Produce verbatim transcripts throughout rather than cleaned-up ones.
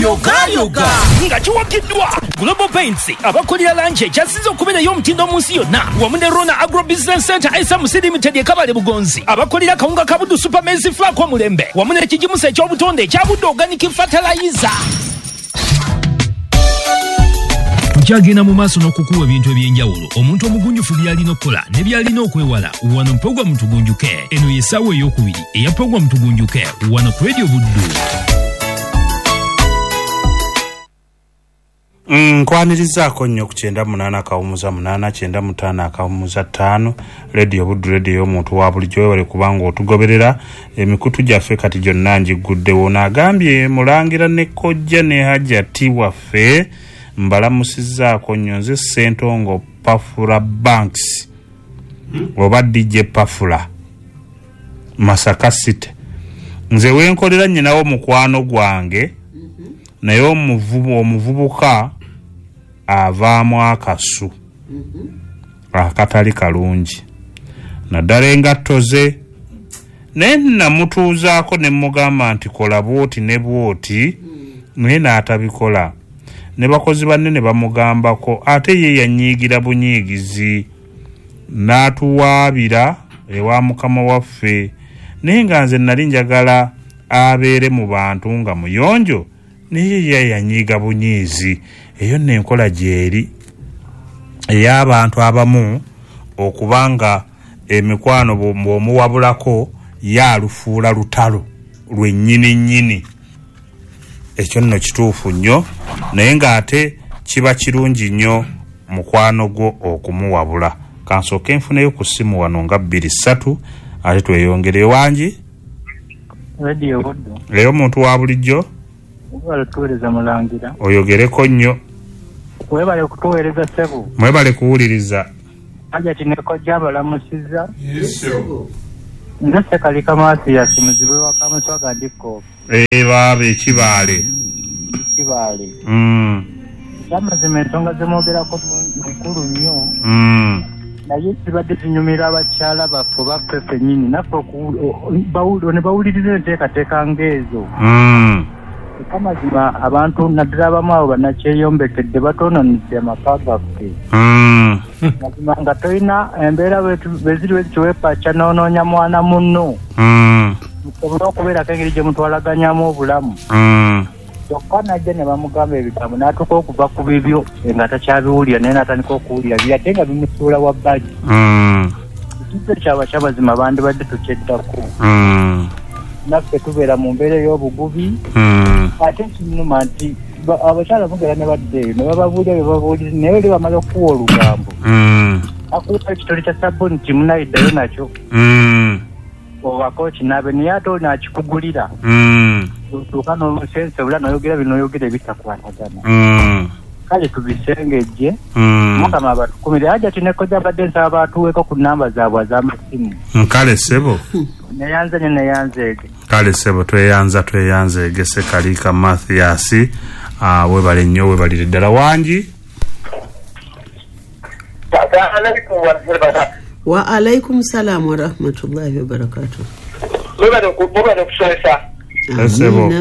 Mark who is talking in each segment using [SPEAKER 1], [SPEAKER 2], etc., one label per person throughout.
[SPEAKER 1] Yogayoga nga kiwagiddwa Global Paints, abakolera langi ekyasinze okubeerayo omutindo mu nsi yonna, wamu ne Rona Agro Business Center S M C Limited e Kabale Bugonzi, abakolera kawunga ka Buddu Super Maize Flour omulembe, wamu n'ekigimusa eky'obutonde ekya Buddu Organic Fertilizer. Tukyagenda mu maaso n'okukuwa ebintu eby'enjawulo omuntu omugunjufu by'alina okukola ne by'alina okwewala wano Puroguramu Tugunjuke. Eno ye ssaawa ey'okubiri eya Puroguramu Tugunjuke wano ku Radio Buddu.
[SPEAKER 2] Nkwanirizaako nnyo ku kyenda munaana akawumuza munaana kyenda mutaano akawumuza ttaano Radio Buddu, radio y'omuntu wa bulijjo. Webale kubanga otugoberera emikutu gyaffe kati gyonna ngiguddewo. Naagambye Mulangira ne Kojja ne Hajati waffe mbalamusizzaako nnyo. Nze Ssentongo Pafula Banks oba D J Pafula Masaka City. Nze wenkolera nnyinawo mukwano gwange, naye omuvubu omuvubuka avaamu akasu akatali kalungi naddala engatto ze, naye namutuuzaako ne mugamba nti kola bw'oti ne bw'oti, naye n'atabikola. Ne bakozi banne ne bamugambako, ate ye yanyiigira bunyiigizi n'atuwaabira ewa mukama waffe. Naye nga nze nali njagala abeere mu bantu nga muyonjo, naye ye yanyiiga bunyiizi. Eyo nno enkola gy'eri ey'abantu abamu okubanga emikwano bw'omuwabulako yaalufuula lutalo lwennyini nnyini. Ekyo nno kituufu nnyo, naye ng'ate kiba kirungi nnyo mukwano gwo okumuwabula. Kansooke nfuneyo ku ssimu wano nga bbiri ssatu ate tweyongereyo. Wangi
[SPEAKER 3] Radio Buddu,
[SPEAKER 2] leero omuntu wa bulijjo
[SPEAKER 3] webale kutuweereza Mulangira.
[SPEAKER 2] Oyogereko nnyo.
[SPEAKER 3] Webale kutuweereza ssebo.
[SPEAKER 2] Mwebale kuwuliriza.
[SPEAKER 3] Hajati ne Kojja abalamusizza.
[SPEAKER 4] Yes,
[SPEAKER 3] nze Ssekalika Mathias muzibe wa Kamuswaga ndiko.
[SPEAKER 2] Eh baaba ekibaale.
[SPEAKER 3] Ekibaale.
[SPEAKER 2] Mm.
[SPEAKER 3] Ekyamazima ensonga zemwogerako nkulu nnyo.
[SPEAKER 2] Mm.
[SPEAKER 3] Naye kibadde kinyumira abakyala baffe baffe ffennyini naffe ne bawuliriza enteekateeka ng'ezo.
[SPEAKER 2] Mm.
[SPEAKER 3] Ekyamazima abantu naddala abamu abo bannakyeyombekedde batoononedde amaka gaffe.
[SPEAKER 2] Mm.
[SPEAKER 3] Mazima nga tolina embeera bwe ziri bwe zityo weepaca n'onoonya mwana munno.
[SPEAKER 2] Mm.
[SPEAKER 3] Musobole okubeerako engeri gye mutwalaganyamu obulamu.
[SPEAKER 2] Mm.
[SPEAKER 3] Kyokka najja ne bamugamba ebigambo n'atuuka okuva ku bibyo nga takyabiwulira, naye n'atandika okuwulira biri ate nga bimusuula wa bbali.
[SPEAKER 2] Mm.
[SPEAKER 3] Ekintu kyaba kyamazima bandibadde tukyeddako.
[SPEAKER 2] Mm.
[SPEAKER 3] Naffe tubeera mu mbeera ey'obugubi.
[SPEAKER 2] Mm.
[SPEAKER 3] Ate kinnuma nti abakyala mugera ne badda eyo ne bababuulira bye babuulira, naye oli bamala okuwa olugambo.
[SPEAKER 2] Mm.
[SPEAKER 3] Akuwa ekitole kya sabbuuni kimu nayiddayo nakyo.
[SPEAKER 2] Mm.
[SPEAKER 3] Obako kinaabe naye ate oli n'akikugulira.
[SPEAKER 2] Mm.
[SPEAKER 3] Otuuka n'omusensebula n'oyogera bino n'oyogera ebitakwatagana.
[SPEAKER 2] Mm.
[SPEAKER 3] Kale tubisengejje.
[SPEAKER 2] Mm.
[SPEAKER 3] Mukama abatukumire. Hajati ne Kojja abadde nsaba batuweeko ku nnamba zaabwe ez'amasimu.
[SPEAKER 2] Kale ssebo.
[SPEAKER 3] Neyanze nnyo neyanzeege.
[SPEAKER 2] Kale ssebo tweyanza tweyanzeege Ssekalika Mathias. Ah, webale nnyo webalire ddala. Wangi.
[SPEAKER 5] Wa alaikum salam wa rahmatullahi wa barakatuh.
[SPEAKER 6] Mwebale okusomesa.
[SPEAKER 2] Ssebo.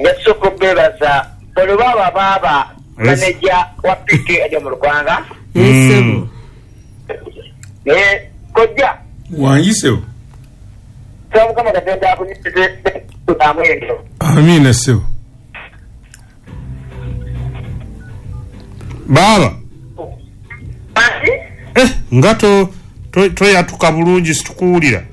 [SPEAKER 6] Ngasooka okubeebaza olwo baaba maneja wa P K ajja mu Lukwanga.
[SPEAKER 5] Ssebo.
[SPEAKER 6] Naye Kojja.
[SPEAKER 4] Wangi ssebo.
[SPEAKER 6] Mukama Katonda akunyumize amwendo.
[SPEAKER 4] Amiina ssebo.
[SPEAKER 2] Baaba. Eh, nga to toyatuka bulungi situkuwulira.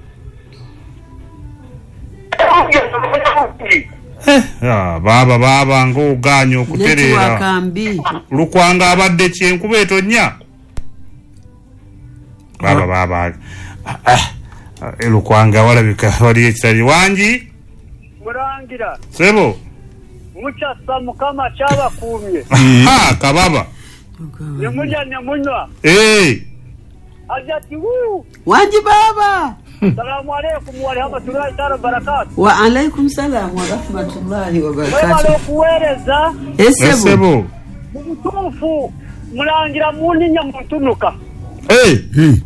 [SPEAKER 2] Eh, ah, baaba baaba ng'ogaanye okutereera. Lukwanga abadde ki enkuba etonnya? Baaba baaba. Ah, Lukwanga walabika waliyo ekitali. Wangi?
[SPEAKER 7] Mulangira.
[SPEAKER 2] Ssebo.
[SPEAKER 7] Mukyasa Mukama kyabakuumye.
[SPEAKER 2] Ha, kababa.
[SPEAKER 7] Ne mulya ne munywa.
[SPEAKER 2] Eh.
[SPEAKER 7] Hajati wuu.
[SPEAKER 5] Wangi baba.
[SPEAKER 7] Salamu alaikum wa rahmatullahi wa barakatuh.
[SPEAKER 5] Wa alaikum salam wa rahmatullahi wa barakatuh.
[SPEAKER 7] Webale okuweereza.
[SPEAKER 5] Ssebo.
[SPEAKER 7] Mu butuufu Mulangira munninya muntunuka.
[SPEAKER 2] Eh.
[SPEAKER 4] Eh.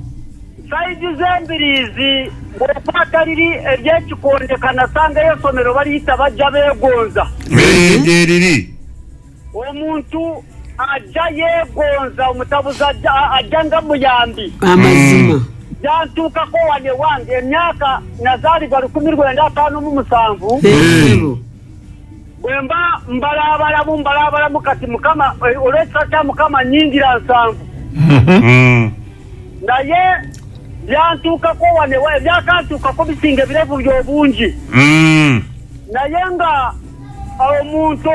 [SPEAKER 7] Saidi z'embiriizi bw'okwata liri ery'ekikonde kanasangayo essomero baliyita bajja beegonza.
[SPEAKER 2] Eriri
[SPEAKER 7] omuntu ajja yeegonza, omutabuzi ajja nga muyambi.
[SPEAKER 5] Amazima.
[SPEAKER 7] Jantuukako wane wange emyaka nazaalibwa lukumi lwenda ataano mu musanvu. Bwe mba mbalaabalamu mbalaabalamu kati Mukama olw'ekisa kya Mukama nnyingira nsanvu. Naye byantuukako wane ebyakantuukako bisinga ebirevu by'obungi. Naye nga omuntu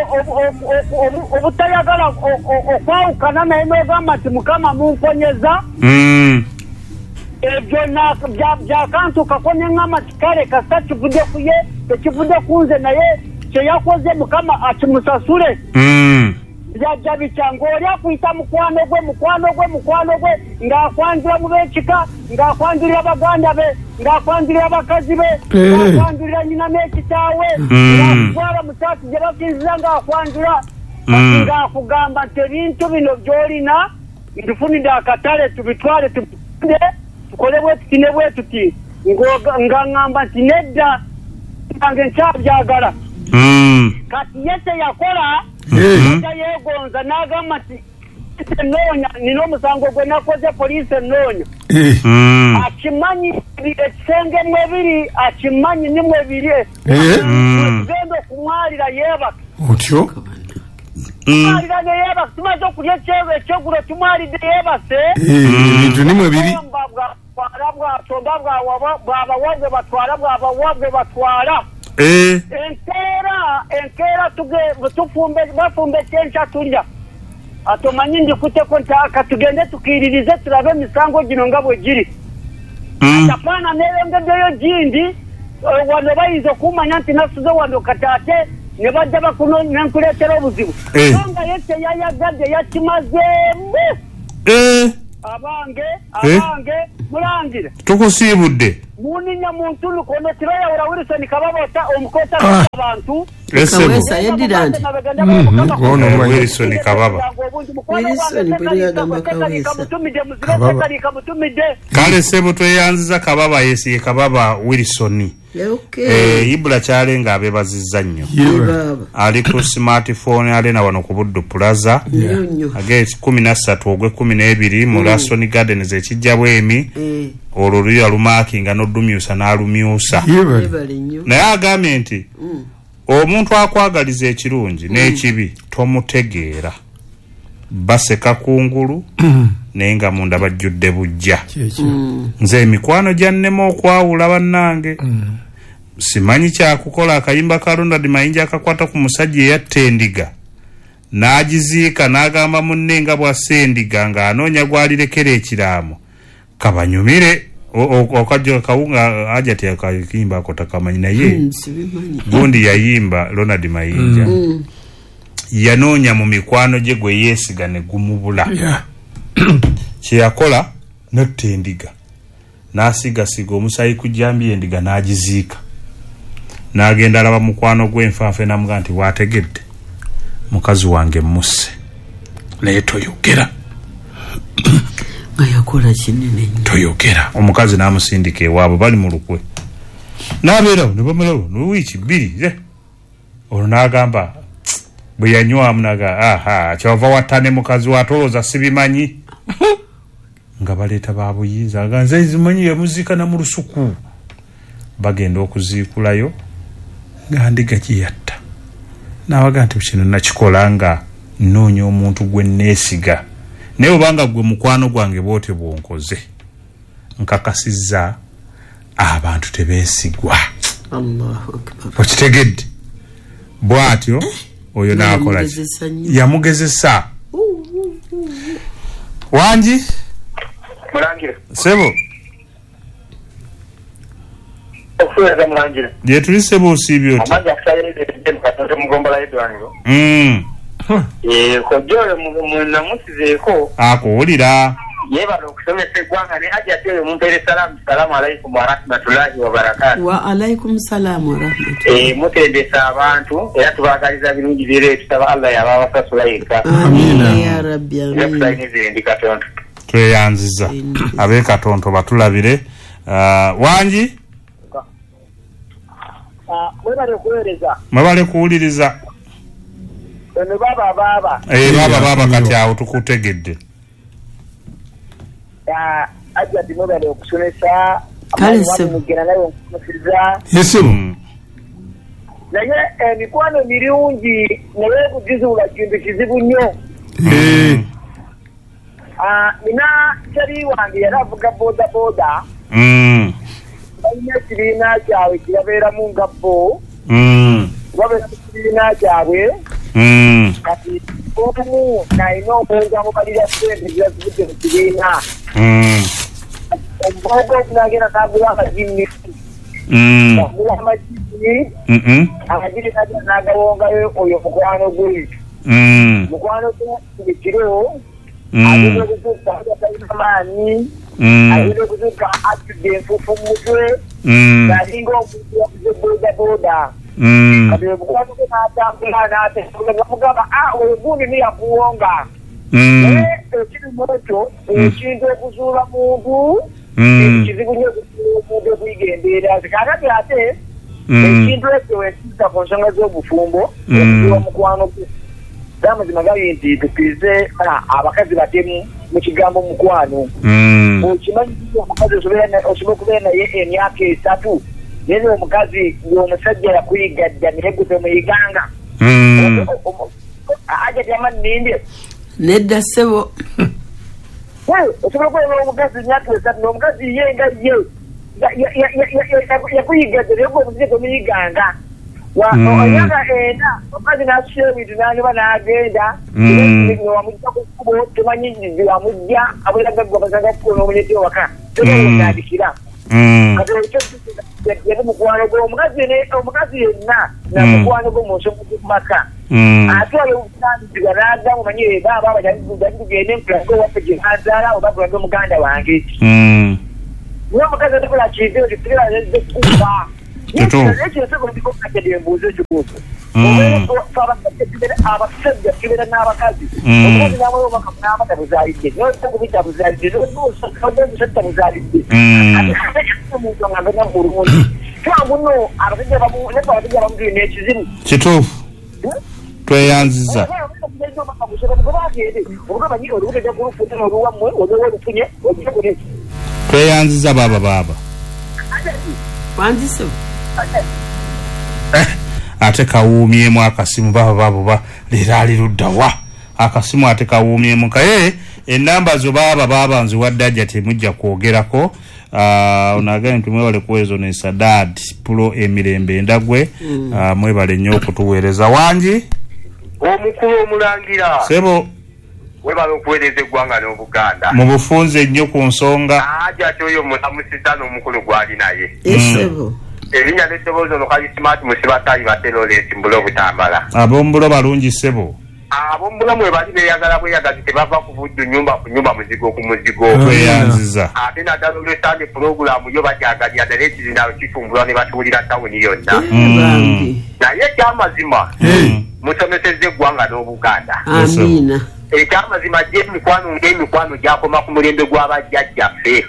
[SPEAKER 7] obutayagala okwawukana naye n'ogamba nti Mukama mumponyeza, ebyo byakantuukako ne ŋŋamba nti kale kasita kivudde ku ye tekivudde ku nze, naye kye yakoze Mukama akimusasule. Byajja bitya ng'oli akuyita mukwano gwe mukwano gwe mukwano gwe ng'akwanjula mu b'ekika, ng'akwanjulira baganda be, ng'akwanjulira bakazi be, ng'akwanjulira nnyina n'ekitaawe, ng'akutwala mu kyaki gye basinziza ng'akwanjula, ng'akugamba nti ebintu bino by'olina ntufunidde akatale tubitwale tubitunde tukole bwe tuti ne bwe tuti, nga ŋŋamba nti nedda nange nkyabyagala. Kati ye kye yakola ajja yeegonza n'agamba nti ennoonya nina omusango gwe nakoze poliisi ennoonya. Akimanyi ekisenge mwebiri, akimanyi ni mwebiri, tugenda okumwalira yeebake.
[SPEAKER 4] Otyo?
[SPEAKER 7] Tumwalira ne yeebake, tumaze okulya ekyegulo tumwalidde yeebase.
[SPEAKER 4] Ebintu ni mwebiri.
[SPEAKER 7] Bwatwala bwasomba bwabawabwe batwala bwabawabwe batwala. Enkeera enkeera tufumbe bafumbe ekyenkya tulya. Atomanyi ndikuteko nti katugende tukiririze tulabe emisango gino nga bwe giri. Atapaana neeyongeddeyo gindi wano bayinza okumanya nti nasuze wano kati ate ne bajja bakuno ne nkuleetera obuzibu. So nga ye teyayagadde yakimazeemu. Abange abange mulangire.
[SPEAKER 2] Tukusiibudde.
[SPEAKER 7] Muninya muntu lukono tirayawula Wilson Kababa omukota abantu.
[SPEAKER 5] Kawesa yeddira nti
[SPEAKER 2] ono Wilson Kababa.
[SPEAKER 5] Wilson bwe yagamba Kawesa.
[SPEAKER 2] Kale ssebo tweyanziza Kababa yesiye Kababa Wilson. Eh Ibula kyalenga abebazizza nnyo. Ali ku smartphone alena wano ku Buddu Plaza. Age kumi na ssatu ogwe kumi n'ebiri mu Laston Gardens ekijja bwemi. Olwo luya lumakinga n'odumyusa n'alumyusa. Naye agambye nti omuntu akwagaliza ekirungi n'ekibi tomutegeera. Baseka kungulu naye nga munda bajjudde bujja. Nze emikwano gyannema okwawula bannange. Simanyi kyakukola. Akayimba ka Ronald Mayinja akakwata ku musajja eyatta endiga n'agiziika n'agamba munne nga bw'asse endiga ng'anoonya gw'alirekera ekiraamo kabanyumire. Okajja kawunga aja teyakayimba ako takamanyi, naye gundi yayimba Ronald Mayinja yanoonya mu mikwano gye gwe yeesiga ne gumubula. Kye yakola n'atta endiga n'asiigasiiga omusaayi ku jjambiya endiga n'agiziika n'agenda alaba mukwano gw'enfanfe n'amugamba nti waategedde mukazi wange musse naye toyogera.
[SPEAKER 5] Nga yakola kinene nnyo.
[SPEAKER 2] Toyogera. Omukazi n'amusindika ewaabwe bali mu lukwe n'abeerawo ne bamalawo ne wiiki bbiri. Olwo n'agamba bwe yanywamu naga aha kyava watta ne mukazi we atolooza sibimanyi. Nga baleeta babuyinza nga nze zimanyi yamuziika na mu lusuku. Bagenda okuziikulayo nga ndiga gye yatta. N'abaga nti kino nakikola nga nnoonya omuntu gwe neesiga, naye obanga gwe mukwano gwange bw'otyo bw'onkoze nkakasizza abantu tebeesigwa.
[SPEAKER 5] Allahu Akbar.
[SPEAKER 2] Okitegedde? Bw'atyo oyo n'akola ki? Yamugezesa. Wangi?
[SPEAKER 6] Mulangira.
[SPEAKER 2] Ssebo.
[SPEAKER 6] Okuweereza mulangira.
[SPEAKER 2] Gye tuli ssebo osiibye otya?
[SPEAKER 6] Amazzi akusayiridde mu Katonda mu ggombolola y'eddwaniro.
[SPEAKER 2] Mm.
[SPEAKER 6] Eh, kojja oyo munamusizeeko.
[SPEAKER 2] Akuwulira.
[SPEAKER 6] Yeebale okusomesa eggwanga ne Hajji ate oyo mumpeere salaamu. Salaamu alaykum warahmatullahi wabarakaatu.
[SPEAKER 5] Wa alaykum salaamu warahmatullahi.
[SPEAKER 6] Eh, mutendesa abantu era tubaagaliza birungi byere, tusaba Allah yaba abasasula yekka.
[SPEAKER 5] Amiina ya Rabbi, amiina.
[SPEAKER 6] Amiina. Ndi Katonda.
[SPEAKER 2] Tweyanziza ab'e Katonto batulabire. Uh, wangi
[SPEAKER 6] mwebale kuweereza,
[SPEAKER 2] mwebale kuwuliriza.
[SPEAKER 6] Eno baba baba
[SPEAKER 2] eh baba baba kati awo tukutegedde.
[SPEAKER 6] Ajja mwebale okusomesa mugenda nayo nkusomesa
[SPEAKER 4] yesimu
[SPEAKER 6] naye emikwano mirungi naye kugizuula kintu kizibu nnyo.
[SPEAKER 4] Eh
[SPEAKER 6] ah nina kyali wange yali avuga boda boda
[SPEAKER 2] mm
[SPEAKER 6] balina ekibiina kyabwe kirabeeramu nga bo
[SPEAKER 2] mm
[SPEAKER 6] babeera mu kibiina kyabwe
[SPEAKER 2] mm
[SPEAKER 6] kati omu nalina omuntu amubalira ssente zirazivudde mu kibiina
[SPEAKER 2] mm
[SPEAKER 6] omugogo nagenda n'agula amagini
[SPEAKER 2] mm
[SPEAKER 6] agula amagini
[SPEAKER 2] mm
[SPEAKER 6] amagini n'agawongayo oyo mukwano gwe
[SPEAKER 2] mm
[SPEAKER 6] mukwano gwe buli kiro
[SPEAKER 2] mm
[SPEAKER 6] agenda okuzuukuka talina maanyi
[SPEAKER 2] mm
[SPEAKER 6] agenda okuzuukuka atudde enfuufu mu mutwe
[SPEAKER 2] mm
[SPEAKER 6] ng'alinga omuntu yavuze boda boda
[SPEAKER 2] mm
[SPEAKER 6] kati omukwano gwe n'atambula n'atambula nga mugamba ah oyo gundi ni yakuwonga
[SPEAKER 2] mm
[SPEAKER 6] naye ekiri mu ekyo ekintu okuzuula muntu
[SPEAKER 2] mm
[SPEAKER 6] kizibu nnyo okuzuula omuntu okuyiga embeera ze. Kaakati ate
[SPEAKER 2] mm
[SPEAKER 6] ekintu ekyo wekiyita ku nsonga z'obufumbo
[SPEAKER 2] Mm.
[SPEAKER 6] okuzuula mukwano gwe amazima gali nti tukkirize abakazi batemu mu kigambo mukwano.
[SPEAKER 2] mm
[SPEAKER 6] Okimanyi nti omukazi osobola osobola okubeera naye emyaka esatu naye omukazi ng'omusajja yakuyiga dda naye gwe tomuyiganga.
[SPEAKER 2] mm
[SPEAKER 6] Aja jamani ninde
[SPEAKER 5] nedda ssebo
[SPEAKER 6] osobola okubeera n'omukazi emyaka esatu n'omukazi ye nga ye yakuyiga dda naye gwe omusajja tomuyiganga. Emyaka ena omukazi n'asusa ebintu n'anyuma n'agenda wamujja ku kkubo tomanyi wamujja abeera gaggwa basanga kkubo n'omuleeta ewaka tomanyi
[SPEAKER 2] mm
[SPEAKER 6] kati ekyo yali mukwano gwe omukazi omukazi yenna na mukwano gwe mu nsonga z'omu maka
[SPEAKER 2] mm
[SPEAKER 6] atwala obuvunaanyizibwa n'agamba omanyi baaba abajali tugende nkulage owaffe gye banzaala oba kulage muganda wange.
[SPEAKER 2] mm
[SPEAKER 6] Naye omukazi atakola kintu ekyo kibeera kuba ekyo embuuza ekibuuzo abasajja tubeera n'abakazi omukazi n'amala obubaka n'amata buzaalidde n'okubita buzaalidde n'omusajja buzaalidde omuntu nga mbeera bulungi kyangu nno abasajja abamu naye abasajja abamu tulina ekizibu
[SPEAKER 2] kituufu tweyanziza tweyanziza baba baba
[SPEAKER 5] wangi ssebo
[SPEAKER 2] eh ate kawuumyemu akasimu baba baba ba leero ali ludda wa akasimu ate kawuumyemu kaye enamba zo baba baba nziwadde ajja temujja kwogerako. Ono agambye nti mwebale kuweereza ono Sadad Pulo emirembe endagwe.
[SPEAKER 5] Mm.
[SPEAKER 2] Mwebale nnyo okutuweereza. Wangi
[SPEAKER 8] omukulu omulangira
[SPEAKER 2] ssebo
[SPEAKER 8] webale okuweereza eggwanga n'Obuganda
[SPEAKER 2] mu bufunze nnyo ku nsonga.
[SPEAKER 8] Aja ati oyo mulamusizza n'omukulu gw'ali naye
[SPEAKER 5] ssebo
[SPEAKER 8] erinnya n'eddoboozi ono kali Smart Musibatayi Bate Lawrence Mbulo Butambala.
[SPEAKER 2] Ab'ombulo balungi ssebo.
[SPEAKER 8] Ab'ombulo mwe bali beeyagala bweyagazi tebava ku buddu nnyumba ku nnyumba muzigo ku muzigo.
[SPEAKER 2] Tweyanziza
[SPEAKER 8] ate naddala olw'Sande pulogulaamu yo bajagalira ddala ekizindaalo kitumbulwa ne batuwulira tawuni yonna.
[SPEAKER 5] Bambi
[SPEAKER 8] naye ekyamazima musomesezza eggwanga n'Obuganda.
[SPEAKER 5] Amiina.
[SPEAKER 8] Ekyamazima gye emikwano ng'emikwano gyakoma ku mulembe gw'abajjajjaffe.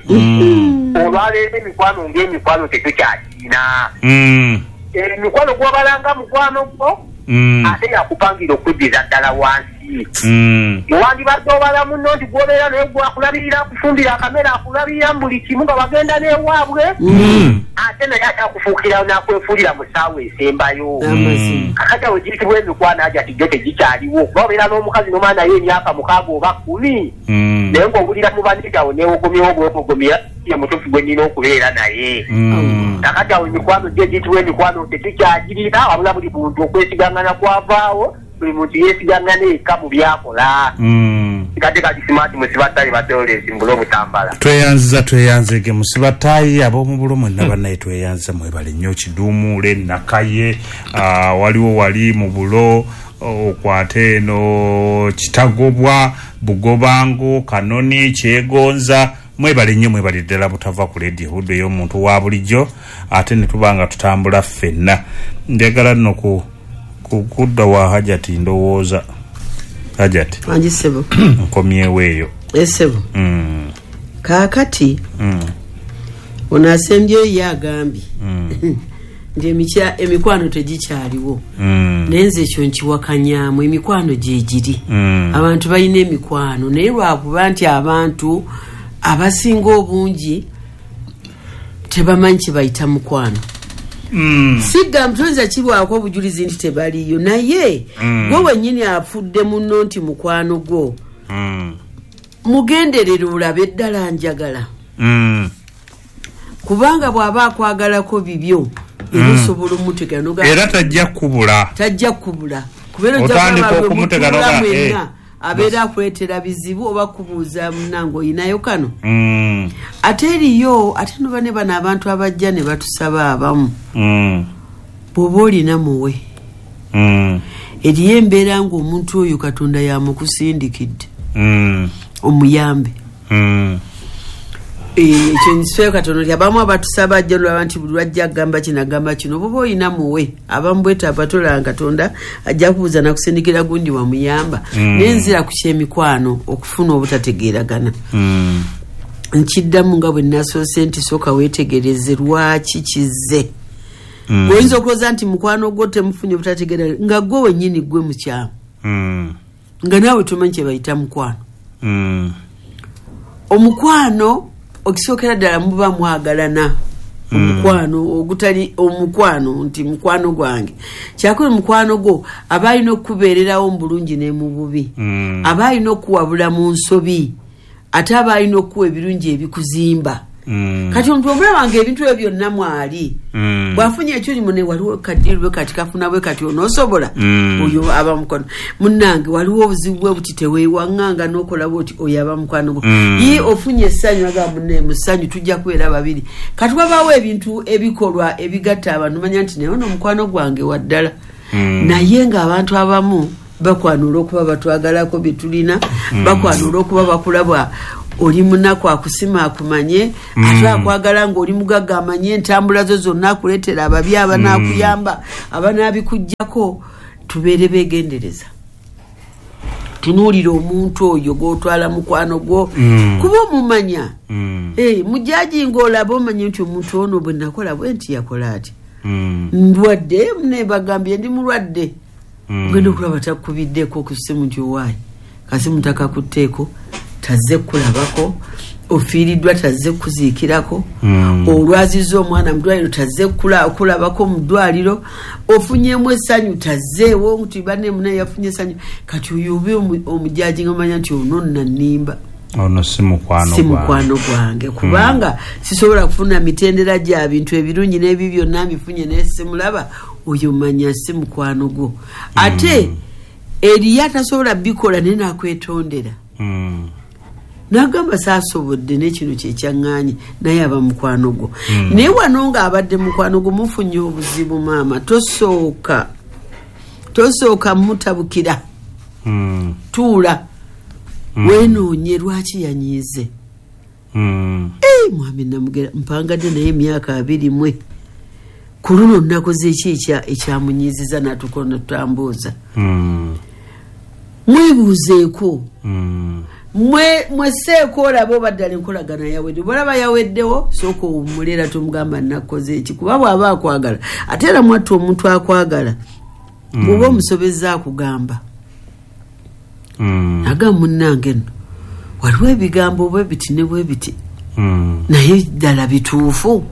[SPEAKER 8] Olwaleero emikwano ng'emikwano tetukyagirina. Emikwano gw'obalanga mukwano gwo ate yakupangira okuddiza ddala wansi. Wandibadde obala munno nti gw'obeera naye gwakulabirira akufumbira akamere akulabirira mu buli kimu nga bagenda n'ewaabwe ate naye ate akufuukira n'akwefuulira mu ssaawa esembayo. Kakati awo giyitibwa emikwano aja ti gyo tegikyaliwo kuba obeera n'omukazi n'omwana naye emyaka mukaaga oba kkumi naye ng'owulira mu banne awo neewogomyewo bwewogomya ye mutuufu gwe nnina okubeera naye. Kakati awo emikwano gyo egiyitibwa emikwano tetukyagirina wabula buli muntu okwesigangana kwavaawo buli muntu yeesigangana eka mu byakola. Kati kati Smart Musibatayi Bate Lawrence Mbulo Butambala.
[SPEAKER 2] Tweyanziza tweyanzege Musibatayi ab'omubulo mwenna bannaye tweyanziza mwebale nnyo Kiduumuule Nakaye waliwo wali mu bulo okwate eno Kitagobwa Bugobango Kanoni Kyegonza mwebale nnyo mwebale ddala butava ku leediyo Buddu ey'omuntu wa bulijjo ate ne tuba nga tutambula ffenna. Njagala nno ku kudda wa Hajati ndowooza Hajati
[SPEAKER 5] wangi ssebo
[SPEAKER 2] nkomyewo eyo.
[SPEAKER 5] Esebo.
[SPEAKER 2] Mm.
[SPEAKER 5] Kaakati
[SPEAKER 2] mm.
[SPEAKER 5] ono asembyeyo ye agambye
[SPEAKER 2] mm.
[SPEAKER 5] nti emikya emikwano tegikyaliwo.
[SPEAKER 2] Mm.
[SPEAKER 5] Naye nze ekyo nkiwakanyaamu, emikwano gyegiri.
[SPEAKER 2] Mm.
[SPEAKER 5] Abantu balina emikwano, naye lwakuba nti abantu abasinga obungi tebamanyi kye bayita mukwano.
[SPEAKER 2] Mm.
[SPEAKER 5] Sigamba toyinza kibwako obujulizi nti tebaliyo, naye
[SPEAKER 2] mm.
[SPEAKER 5] gwe wennyini afudde munno nti mukwano gwo.
[SPEAKER 2] Mm.
[SPEAKER 5] Mugenderere olabe ddala njagala.
[SPEAKER 2] Mm.
[SPEAKER 5] Kubanga bw'aba akwagalako bibyo, era osobola omutegera n'ogamba
[SPEAKER 2] era tajja kubula.
[SPEAKER 5] Tajja kubula. Kubeera ojja
[SPEAKER 2] Otandika
[SPEAKER 5] kulaba
[SPEAKER 2] okumutegera
[SPEAKER 5] lwe
[SPEAKER 2] n'ogamba,
[SPEAKER 5] mutuula
[SPEAKER 2] eh.
[SPEAKER 5] mwenna, abeera akuleetera bizibu oba kubuuza munnange oyinayo kano.
[SPEAKER 2] Mm.
[SPEAKER 5] Ate eriyo, ate no bane bano abantu abajja ne batusaba abamu.
[SPEAKER 2] Mm.
[SPEAKER 5] Bw'oba olina muwe.
[SPEAKER 2] Mm.
[SPEAKER 5] Eriyo embeera ng'omuntu oyo Katonda yamukusindikidde.
[SPEAKER 2] Mm.
[SPEAKER 5] Omuyambe.
[SPEAKER 2] Mm.
[SPEAKER 5] Eh, ekyo nsife katono nti abamu abatusaba ajja olaba nti buli lwajja agamba kino agamba kino, bw'oba olina muwe. Abamu bwetaavu tolaba Katonda ajja kubuuza nakusindikira gundi wamuyamba.
[SPEAKER 2] Mm.
[SPEAKER 5] Naye nzira ku ky'emikwano okufuna obutategeeragana.
[SPEAKER 2] Mm.
[SPEAKER 5] Nkiddamu nga bwe nasoose nti sooka weetegereze lwaki kizze.
[SPEAKER 2] Mm.
[SPEAKER 5] Oyinza okulowooza nti mukwano gwo temufunye obutategeeragana nga gwe wennyini gwe mukyamu.
[SPEAKER 2] Mm.
[SPEAKER 5] Nga naawe tomanyi kye bayita mukwano.
[SPEAKER 2] Mm.
[SPEAKER 5] Omukwano okisookera ddala muba mwagalana. Omukwano ogutali omukwano nti mukwano gwange. Kyakuli mukwano gwo aba alina okukubeererawo mu bulungi ne mu bubi.
[SPEAKER 2] Mm.
[SPEAKER 5] Aba alina okuwabula mu nsobi, ate aba alina okuwa ebirungi ebikuzimba.
[SPEAKER 2] Mm.
[SPEAKER 5] Kati omuntu omulaba nga ebintu ebyo byonna mwali.
[SPEAKER 2] Mm.
[SPEAKER 5] Bw'afunye ekyuli mune waliwo kaddiru bwe kati kafuna bwe kati onoosobola.
[SPEAKER 2] Mm.
[SPEAKER 5] Oyo aba mukwano. Munnange waliwo obuzibu bwe buti teweewaŋŋanga n'okola bw'oti, oyo aba mukwano gwo.
[SPEAKER 2] Mm.
[SPEAKER 5] Ye ofunye essanyu agamba munne mu ssanyu tujja kubeera babiri. Kati wabaawo ebintu ebikolwa ebigatta abantu, manya nti naye ono mukwano gwange wa ddala.
[SPEAKER 2] Mm.
[SPEAKER 5] Naye ng'abantu abamu bakwana olw'okuba batwagalako bye tulina,
[SPEAKER 2] Mm.
[SPEAKER 5] bakwana olw'okuba bakulaba oli munaku akusima akumanye,
[SPEAKER 2] Mm.
[SPEAKER 5] ate akwagala ng'oli mugagga amanye entambula zo zonna akuleetera ababi abanaakuyamba, abanaabikuggyako. Tubeere beegendereza, tunuulire omuntu oyo gw'otwala mukwano gwo,
[SPEAKER 2] Mm.
[SPEAKER 5] kuba omumanya.
[SPEAKER 2] Mm.
[SPEAKER 5] Eh, mujaji ng'olaba omanye nti omuntu ono bwe nakola bwe nti yakola ati.
[SPEAKER 2] Mm.
[SPEAKER 5] Ndwadde, ne bagambye ndi mulwadde.
[SPEAKER 2] Mm.
[SPEAKER 5] Ogenda okulaba takubiddeko ku ssimu nti owaayi, kasimu takakutteeko, tazze kulabako, ofiiriddwa tazze kuziikirako,
[SPEAKER 2] Mm.
[SPEAKER 5] olwazizza omwana mu ddwaliro tazze kula-, kulabako mu ddwaliro, ofunyeemu essanyu tazzeewo nti banne munne yafunye essanyu. Kati oyo obe omu-, omujaji ng'omanya nti ono nno nnimba.
[SPEAKER 2] Ono si mukwano
[SPEAKER 5] Si
[SPEAKER 2] gwange.
[SPEAKER 5] mukwano gwange, kubanga sisobola kufuna mitendera gya bintu ebirungi n'ebibi byonna mbifunye naye simulaba, oyo manya si mukwano gwo. Ate eriyo atasobola bikola naye n'akwetondera.
[SPEAKER 2] Mm.
[SPEAKER 5] N'agamba saasobodde n'ekino kye kyaŋŋaanye, naye aba mukwano gwo.
[SPEAKER 2] Mm.
[SPEAKER 5] Naye wano ng'abadde mukwano gwo mufunye obuzibu maama, tosooka, tosooka mutabukira.
[SPEAKER 2] Mm.
[SPEAKER 5] Tuula.
[SPEAKER 2] Mm.
[SPEAKER 5] Weenoonye lwaki yanyiize.
[SPEAKER 2] Mm.
[SPEAKER 5] Eh, mwami Namugera mpangadde naye emyaka abiri mwe. Ku luno nnakoze ki ekya-, ekyamunyiiziza n'atuuka ne tutambuuza.
[SPEAKER 2] Mm.
[SPEAKER 5] Mwebuuzeeko.
[SPEAKER 2] Mm.
[SPEAKER 5] Mwe, mweseeko olaba oba ddala enkolagana yawedde. Bw'olaba yaweddewo, sooka owummule era tomugamba nnakoze eki, kuba bw'aba akwagala. Ate era mwattu omuntu akwagala,
[SPEAKER 2] Mm.
[SPEAKER 5] bw'oba omusobezza akugamba.
[SPEAKER 2] Mm.
[SPEAKER 5] Agamba munnange nno, waliwo ebigambo bwe biti ne bwe biti.
[SPEAKER 2] Mm.
[SPEAKER 5] Naye ddala bituufu.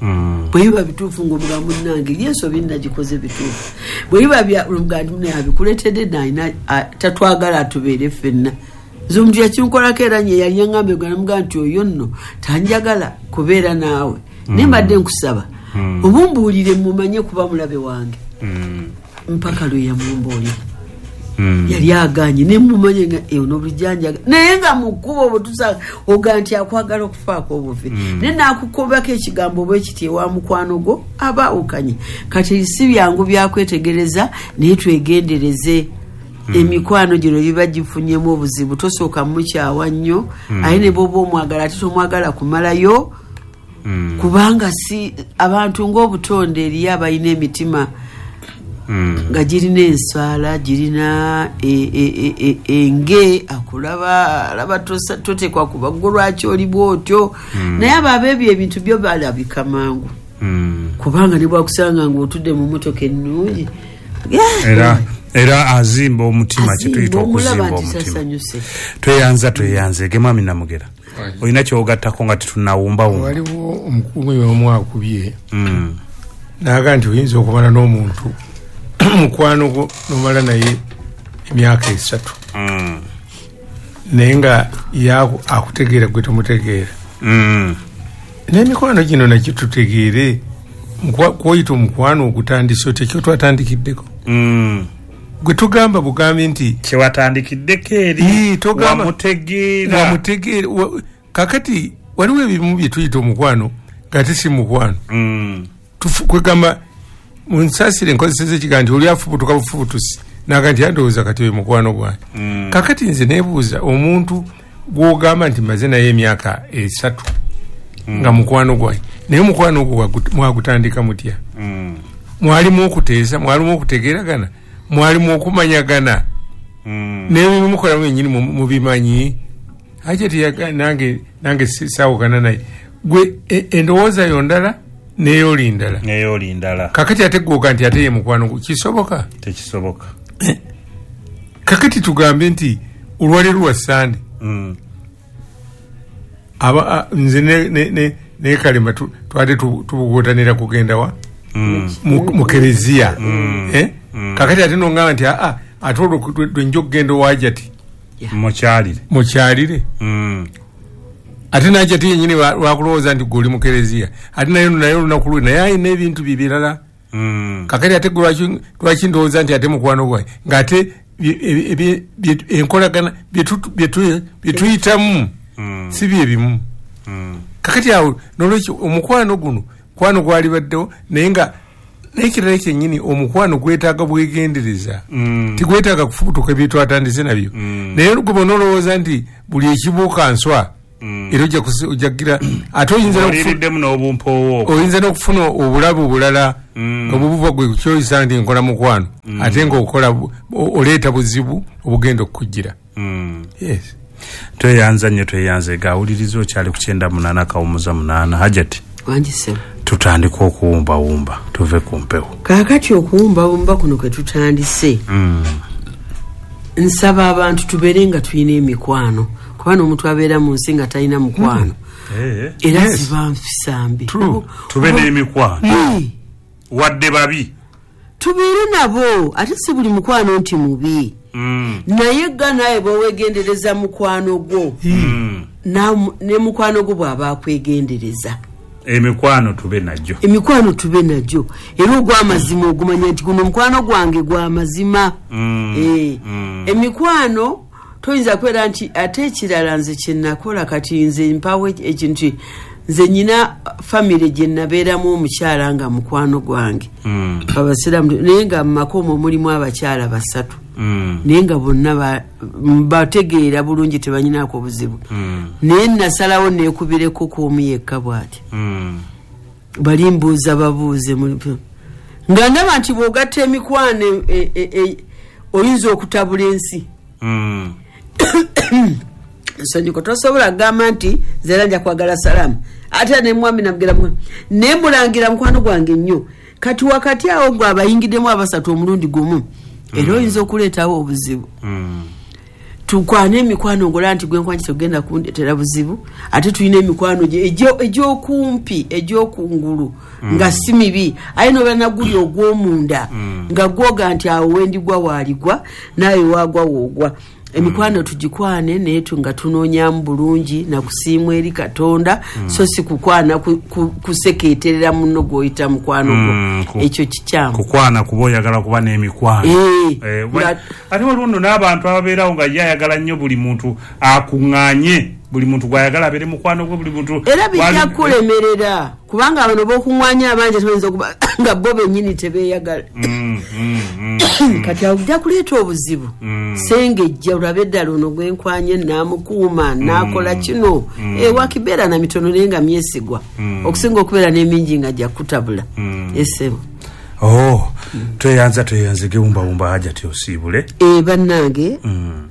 [SPEAKER 2] Mm.
[SPEAKER 5] Bwe biba bituufu ng'omugamba munnange, ye ensobi nnagikoze bituufu. Bwe biba bya-, omugamba nti munnaye abikuleetedde nalina, a-, tatwagala atubeere ffenna. Nze omuntu yakinkolako era nye yali yaŋŋamba egyo, namugamba nti oyo nno tanjagala kubeera naawe. Naye mbadde nkusaba,
[SPEAKER 2] Mm.
[SPEAKER 5] obumbuulire mumanye kuba mulabe wange.
[SPEAKER 2] Mm.
[SPEAKER 5] Mpaka lwe yamumbuulira.
[SPEAKER 2] Mm.
[SPEAKER 5] Yali agaanye, ne mumanye nga, eh, ono bulijjo anjagala. Naye nga mu kkubo bwe tusanga, ogaa nti akwagala okufaako obufi.
[SPEAKER 2] Mm.
[SPEAKER 5] Naye n'akukobako ekigambo bwe kiti ewa mukwano gwo, aba awukanye. Kati si byangu byakwetegereza, naye twegendereze.
[SPEAKER 2] Mm.
[SPEAKER 5] Emikwano gino giba gifunyemu obuzibu, tosooka mukyawa nnyo,
[SPEAKER 2] Mm.
[SPEAKER 5] ate ne bw'oba omwagala ate tomwagala kumalayo,
[SPEAKER 2] Mm.
[SPEAKER 5] kubanga si abantu ng'obutonde eriyo abalina emitima
[SPEAKER 2] Mm.
[SPEAKER 5] Nga girina ensaala, girina e, e, e, e, enge, akulaba alaba totekwa kuba gwe lwaki oli bw'otyo.
[SPEAKER 2] Mm.
[SPEAKER 5] Naye abo abeebyo ebintu byo balabika mangu.
[SPEAKER 2] Mm.
[SPEAKER 5] Kubanga ne bwakusanga ng'otudde mu mmotoka ennungi.
[SPEAKER 2] Era era azimba omutima, kyetuyita okuzimba omutima. Tweyanza tweyanze ge mwami Namugera. Olina ky'ogattako nga tetunnawumbawumba?
[SPEAKER 4] Waliwo omukuumi omu akubye.
[SPEAKER 2] Mm.
[SPEAKER 4] N'agamba nti oyinza okumala n'omuntu mukwano gwo n'omala naye emyaka esatu.
[SPEAKER 2] Mm.
[SPEAKER 4] Naye nga ye akutegeera gwe tomutegeera.
[SPEAKER 2] Mm.
[SPEAKER 4] N'emikwano gino nakyo tutegeere kwoyita omukwano ogutandise otya, kyo twatandikiddeko.
[SPEAKER 2] Mm.
[SPEAKER 4] Gwe tugamba bugambi nti
[SPEAKER 2] kyewatandikiddeko eri wamutegeera.
[SPEAKER 4] Wamutegeera. Kakati waliwo ebimu bye tuyita omukwano ng'ate si mukwano.
[SPEAKER 2] Mm.
[SPEAKER 4] Kwegamba munsasire nkozeseza ekigambo nti oli afubutuka bufubutusi naga nti andowooza kati oyo mukwano gwange.
[SPEAKER 2] Mm.
[SPEAKER 4] Kakati nze neebuuza omuntu gw'ogamba nti maze naye emyaka esatu
[SPEAKER 2] mm.
[SPEAKER 4] nga mukwano gwange, naye omukwano ogwo mwagutandika mutya?
[SPEAKER 2] Mm.
[SPEAKER 4] Mwalimu okuteesa, mwalimu okutegeeragana, mwalimu okumanyagana.
[SPEAKER 2] Mm.
[SPEAKER 4] N'ebimukola mwennyini mubimanyi. Ate nange nange saawukana naye. Gwe endowooza yo ndala n'eyoli ndala.
[SPEAKER 2] N'eyoli ndala.
[SPEAKER 4] Kakati ate gwoga nti ate ye mukwano gwo kisoboka?
[SPEAKER 2] Tekisoboka.
[SPEAKER 4] Kakati tugambe nti olwaleero lwa Ssande.
[SPEAKER 2] Mm.
[SPEAKER 4] Aba nze ne ne ne ne Kalema twade tubugotanira kugenda wa?
[SPEAKER 2] Mm.
[SPEAKER 4] Mu kereziya.
[SPEAKER 2] Mm.
[SPEAKER 4] Eh?
[SPEAKER 2] Mm.
[SPEAKER 4] Kakati ate nongamba nti aa ate olwo lwe okugenda owajati.
[SPEAKER 2] Mukyalire.
[SPEAKER 4] Mukyalire.
[SPEAKER 2] Mm.
[SPEAKER 4] Ate najati yennyini lwakulowooza nti gwe oli mu kereziya. Ate naye naye olunaku lwe naye alina ebintu bibirala.
[SPEAKER 2] Mm.
[SPEAKER 4] Kakati ate gwe lwaki lwaki ndowooza nti ate mukwano gwange ng'ate enkolagana bye tuyitamu
[SPEAKER 2] mm.
[SPEAKER 4] si bye bimu.
[SPEAKER 2] Mm.
[SPEAKER 4] Kakati awo n'olwekyo omukwano guno kwano gwalibaddewo naye nga n'ekirala kyennyini omukwano gwetaaga bwegendereza.
[SPEAKER 2] Mm.
[SPEAKER 4] Tigwetaaga kufubutuka ebintu atandise nabyo.
[SPEAKER 2] Mm.
[SPEAKER 4] Naye gwe bw'onolowooza nti buli ekibuuka nswa
[SPEAKER 2] Mm.
[SPEAKER 4] era ojja kugira ate oyinza n'okufuna obulabe obulala
[SPEAKER 2] mm.
[SPEAKER 4] obubuva gwe kyoyisa nti nkola mukwano
[SPEAKER 2] mm.
[SPEAKER 4] ate ng'okola oleeta buzibu obugenda okukujjira.
[SPEAKER 2] Mm.
[SPEAKER 4] Yes.
[SPEAKER 2] Tweyanza nnyo tweyanze gawuliriza okyali ku kyenda munaana kawumuza munaana. Hajati
[SPEAKER 5] Wanjise.
[SPEAKER 2] Tutandika okuwumbawumba tuve ku mpewo.
[SPEAKER 5] Kaakati okuwumbawumba kuno kwe tutandise.
[SPEAKER 2] Mm.
[SPEAKER 5] Nsaba abantu tubeere nga tulina emikwano. Kuba n'omuntu abeera mu nsi nga talina mukwano.
[SPEAKER 2] Mm.
[SPEAKER 5] Era
[SPEAKER 4] Yes.
[SPEAKER 5] ziba nfisa mbi.
[SPEAKER 2] Tube n'emikwano.
[SPEAKER 5] Mm.
[SPEAKER 2] Wadde babi.
[SPEAKER 5] Tubeere nabo ate si buli mukwano nti mubi.
[SPEAKER 2] Mm.
[SPEAKER 5] Naye ga naye bw'oweegendereza mukwano gwo.
[SPEAKER 2] Mm.
[SPEAKER 5] Na, ne mukwano gwo bw'aba akwegendereza.
[SPEAKER 2] Emikwano tube nagyo.
[SPEAKER 5] Emikwano tube nagyo. Era ogw'amazima ogumanya nti guno omukwano gwange gw'amazima.
[SPEAKER 2] Mm.
[SPEAKER 5] Eh.
[SPEAKER 2] Mm.
[SPEAKER 5] Emikwano toyinza kubeera nti ate ekirala nze kye nakola kati nze mpawo ekintu nze nyina famire gye nabeeramu omukyala nga mukwano gwange.
[SPEAKER 2] Mm.
[SPEAKER 5] Abasiraamu naye nga mu maka omwo mulimu abakyala basatu.
[SPEAKER 2] Mm.
[SPEAKER 5] Naye nga bonna bategeera bulungi tebanyinaako buzibu.
[SPEAKER 2] Mm.
[SPEAKER 5] Naye nasalawo neekubireko kw'omu yekka bw'ati.
[SPEAKER 2] Mm.
[SPEAKER 5] Bali mbuuza babuuze nga ndaba nti bw'ogatta emikwano e, e, e, oyinza okutabula ensi.
[SPEAKER 2] Mm.
[SPEAKER 5] Nsonyiiko tosobola kugamba nti nze era nja kwagala Salaamu ate ne mwami Namugera ne mulangira mukwano gwange nnyo. Kati wakati awo gwe abayingiddemu abasatu omulundi gumu era oyinza okuleetawo obuzibu.
[SPEAKER 2] Mm.
[SPEAKER 5] Tukwane emikwano ngola nti gwe nkwanyi togenda kundeetera buzibu ate tulina emikwano egy'okumpi egy'okungulu
[SPEAKER 2] mm.
[SPEAKER 5] nga si mibi aye nobeera naguli ogw'omunda
[SPEAKER 2] mm.
[SPEAKER 5] nga gwoga nti awo wendigwa waaligwa naawe waagwa woogwa. Emikwano tugikwane naye nga tunoonyamu bulungi nakusiimwa eri Katonda
[SPEAKER 2] mm.
[SPEAKER 5] so si kukwana kusekeeterera munno gw'oyita mukwano gwo.
[SPEAKER 2] Mm,
[SPEAKER 5] ekyo kikyamu
[SPEAKER 2] kukwana kuba oyagala kuba n'emikwano.
[SPEAKER 5] Eh,
[SPEAKER 2] eh, ate waliwo nno n'abantu ababeerawo nga ye ayagala nnyo buli muntu akuŋŋaanye buli muntu gw'ayagala abeere mukwano gwe buli muntu
[SPEAKER 5] era bijja kulemerera kubanga bano b'okuŋŋaanya abangi tebayinza okuba nga bo bennyini tebeeyagala.
[SPEAKER 2] Mm, mm, mm,
[SPEAKER 5] kati awo ojja kuleeta obuzibu.
[SPEAKER 2] Mm.
[SPEAKER 5] Sengejja olabe eddala ono gwenkwanye naamukuuma
[SPEAKER 2] mm.
[SPEAKER 5] naakola kino
[SPEAKER 2] mm.
[SPEAKER 5] e, wakibeera na mitono naye nga myesigwa
[SPEAKER 2] mm.
[SPEAKER 5] okusinga okubeera n'emingi nga jja kutabula.
[SPEAKER 2] Mm.
[SPEAKER 5] Esebo
[SPEAKER 2] Oh, tweyanza tweyanze gewumbawumba Hajati osiibule.
[SPEAKER 5] Eh, bannange mm.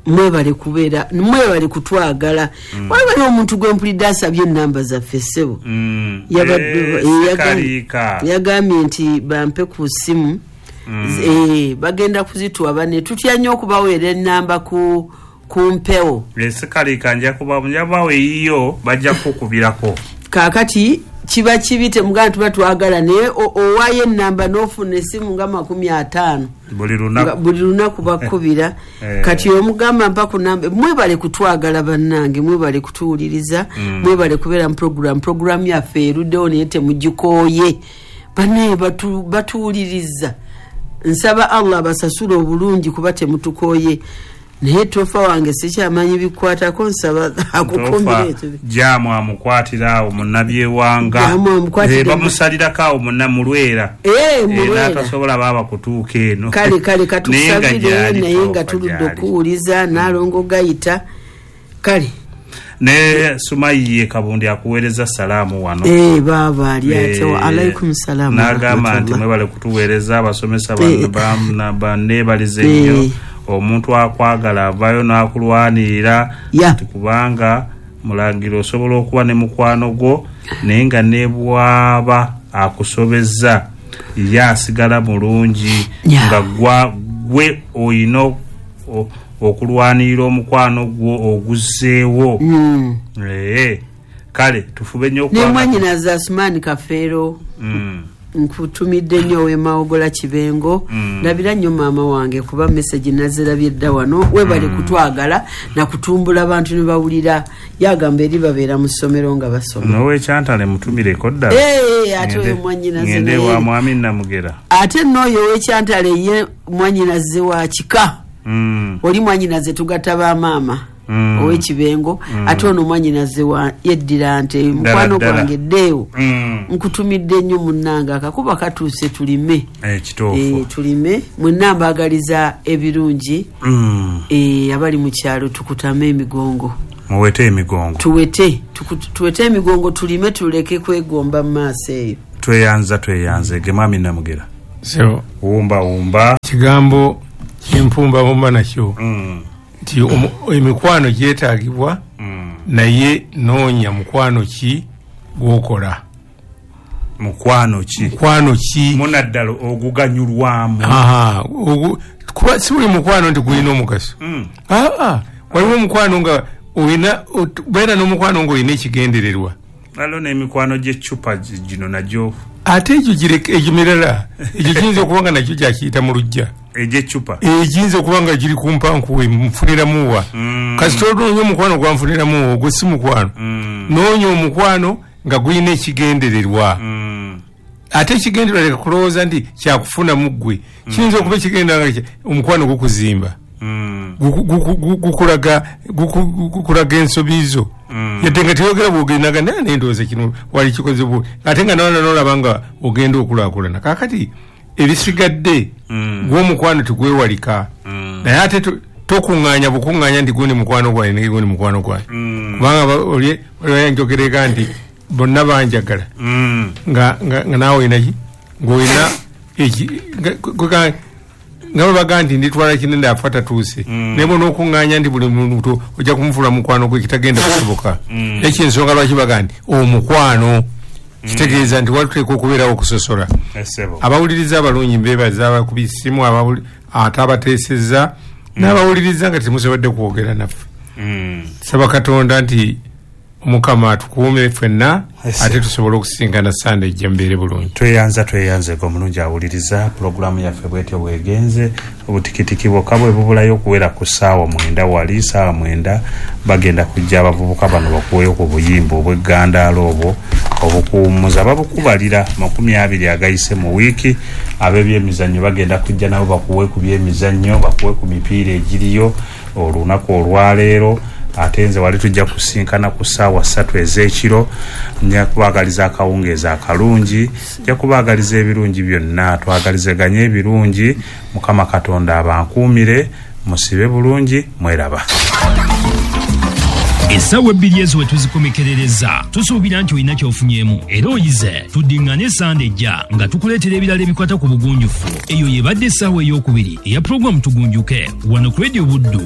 [SPEAKER 5] mwebale kubeera, mwebale kutwagala. Mm. Waliwo omuntu gwe mpulidde asabye ennamba zaffe ssebo.
[SPEAKER 2] Mm.
[SPEAKER 5] Yabadde
[SPEAKER 2] eh,
[SPEAKER 5] yagambye nti bampe ku ssimu.
[SPEAKER 2] Mm.
[SPEAKER 5] Eh, bagenda kuzituwa bane tutya nnyo okubaweera ennamba ku ku mpewo.
[SPEAKER 2] Esikaliika nja kuba njabawe yiyo bajja kukubirako.
[SPEAKER 5] Kaakati kiba kibi temugamba tuba twagala naye owaayo ennamba n'ofuna essimu nga makumi ataano
[SPEAKER 2] buli lunaku,
[SPEAKER 5] buli lunaku bakubira. Kati omugamba mpa ku namba. Mwebale kutwagala bannange, mwebale kutuwuliriza,
[SPEAKER 2] mm.
[SPEAKER 5] mwebale kubeera mu program. Program yaffe eruddewo naye temugikooye. Bannaye batu, batuwuliriza. Nsaba Allah abasasule obulungi kuba temutukooye. Naye tofa wange sikyamanyi bikwatako, nsaba akukumbire ekyo.
[SPEAKER 2] Jaamu amukwatira awo munnabyewanga, bamusalirako awo munna mulwera,
[SPEAKER 5] eh, mulwera
[SPEAKER 2] n'atasobola baaba kutuuka eno.
[SPEAKER 5] Kale kale katusabire naye nga tuludde okuwuliza n'alongo gayita. Kale
[SPEAKER 2] ne Sumayiye Kabundi akuweereza salaamu wano.
[SPEAKER 5] Eh, baaba ali ate wa alaikum salaamu.
[SPEAKER 2] N'agamba nti mwebale kutuweereza abasomesa banneebalize nnyo. Omuntu akwagala avaayo n'akulwanirira nti kubanga mulangira osobola okuba ne mukwano gwo naye nga ne bw'aba akusobezza ye asigala mulungi, nga gwe oyina okulwanirira omukwano gwo oguzzeewo.
[SPEAKER 5] Mm.
[SPEAKER 2] Eh, kale tufube nnyo
[SPEAKER 5] ne mwannyinaze Asumani Kafeero.
[SPEAKER 2] Mm.
[SPEAKER 5] Nkutumidde nnyo ow'Emawogola Kibengo. Ndabira nnyo maama wange kuba message nazirabye dda wano. Webale
[SPEAKER 2] mm.
[SPEAKER 5] kutwagala na kutumbula abantu ne bawulira. Yagamba eri babeera mu ssomero nga basoma.
[SPEAKER 2] N'owekyantale mutumireko ddala.
[SPEAKER 5] Eh, ate oyo mwannyinaze
[SPEAKER 2] ngende wa mwami Namugera.
[SPEAKER 5] Ate n'oyo ow'ekyantale ye mwannyinaze wa kika.
[SPEAKER 2] Mm.
[SPEAKER 5] Oli mwannyinaze tugatta ba maama.
[SPEAKER 2] Mm.
[SPEAKER 5] Ow'ekibengo.
[SPEAKER 2] Mm.
[SPEAKER 5] Ate ono mwannyinaze wa yeddira nte mukwano gwange ddeewo.
[SPEAKER 2] Mm.
[SPEAKER 5] Nkutumidde nnyo munnange akakuba katuuse tulime.
[SPEAKER 2] Eh, kituufu.
[SPEAKER 5] Eh, tulime mwenna mbaagaliza ebirungi.
[SPEAKER 2] Mm.
[SPEAKER 5] Eh, abali mu kyalo tukutame emigongo.
[SPEAKER 2] Muwete emigongo.
[SPEAKER 5] Tuwete, tuwete emigongo tulime tuleke kwegomba mu maaso eyo.
[SPEAKER 2] Tweyanza tweyanze ge mwami Namugera.
[SPEAKER 4] So,
[SPEAKER 2] wumba wumba.
[SPEAKER 4] Kigambo kimpumba bumba nakyo.
[SPEAKER 2] Mm.
[SPEAKER 4] Nti emikwano gyetaagibwa,
[SPEAKER 2] mm.
[SPEAKER 4] naye noonya mukwano ki gw'okola.
[SPEAKER 2] Mukwano ki?
[SPEAKER 4] Mukwano ki?
[SPEAKER 2] Munaddala oguganyulwamu.
[SPEAKER 4] Aha, kuba si buli mukwano nti gulina omugaso.
[SPEAKER 2] Mm.
[SPEAKER 4] Aa, waliwo omukwano nga olina, beera n'omukwano ng'olina ekigendererwa.
[SPEAKER 2] Waliwo n'emikwano gy'eccupa gino nagyo.
[SPEAKER 4] Ate egyo gireke, egyo mirala, egyo giyinza okuba nga nakyo gyakiyita mu luggya.
[SPEAKER 2] Egy'eccupa.
[SPEAKER 4] Egiyinza okuba nga giri ku mpankuwe nfuniramuwa.
[SPEAKER 2] Mm.
[SPEAKER 4] Kasita onoonya omukwano gwanfuniramuwa ogwo si mukwano.
[SPEAKER 2] Mm.
[SPEAKER 4] Noonya omukwano nga gulina ekigendererwa.
[SPEAKER 2] Mm.
[SPEAKER 4] Ate ekigendererwa leka kulowooza nti kyakufunamu ggwe. Kiyinza okuba ekigendererwa nga omukwano gukuzimba.
[SPEAKER 2] Mm.
[SPEAKER 4] Gukulaga gukulaga ensobi zo.
[SPEAKER 2] Mm.
[SPEAKER 4] Yadde nga teyogera bw'ogendaga naye nendowooza kino wali kikoze bwe. Ate nga nawe n'olaba nga ogenda okulaakulana. Kaakati ebisigadde
[SPEAKER 2] mm.
[SPEAKER 4] gw'omukwano tegwewalika.
[SPEAKER 2] Mm.
[SPEAKER 4] Naye ate tokuŋŋaanya bukuŋŋaanya nti gundi mukwano gwange naye gundi mukwano gwange.
[SPEAKER 2] Mm.
[SPEAKER 4] Kubanga oli yanjogereka nti bonna banjagala.
[SPEAKER 2] Mm.
[SPEAKER 4] Nga, nga, nga naawe olina ki? Ng'olina eki nga nga babaga nti nditwala kinene afa tatuuse.
[SPEAKER 2] Mm.
[SPEAKER 4] Naye bw'onookuŋŋaanya nti buli muntu ojja kumufuula mukwano gwe kitagenda kusoboka.
[SPEAKER 2] Mm.
[SPEAKER 4] Ekyo ensonga lwaki baga nti omukwano kitegeeza nti watuteekwa okubeerawo okusosola. Abawuliriza abalungi mbeebaza abakuba essimu, ate abateesezza n'abawuliriza nga temusobodde kwogera naffe.
[SPEAKER 2] Mm.
[SPEAKER 4] Saba Katonda nti Omukama atukuume ffenna ate tusobole okusisinkana Sande ejja mbeere bulungi.
[SPEAKER 2] Tweyanza tweyanze gwe omulungi awuliriza pulogulaamu yaffe bwetyo bwegenze. Obutikitiki bwokka bwe bubulayo okuwera ku ssaawa mwenda wali ssaawa mwenda bagenda kujja abavubuka bano bakuweyo ku buyimba obw'eggandaalo obwo obukuwummuza babukubalira makumi abiri agayise mu wiiki. Ab'ebyemizannyo bagenda kujja nabo bakuwe ku byemizannyo, bakuwe ku mipiira egiriyo olunaku olwaleero. Ate nze wali tujja kusinkana ku ssaawa ssatu ez'ekiro. Nja kubaagaliza akawungeezi akalungi, nja kubaagaliza ebirungi byonna, twagalizeganye ebirungi. Mukama Katonda abankuumire, musibe bulungi, mweraba.
[SPEAKER 1] Essaawa ebbiri ezo we tuzikomekerereza, tusuubira nti olina ky'ofunyeemu era oyize. Tuddiŋŋane Sande ejja nga tukuleetera ebirala ebikwata ku bugunjufu. Eyo yebadde essaawa ey'okubiri eya pulogulaamu Tugunjuke wano ku Radio Buddu.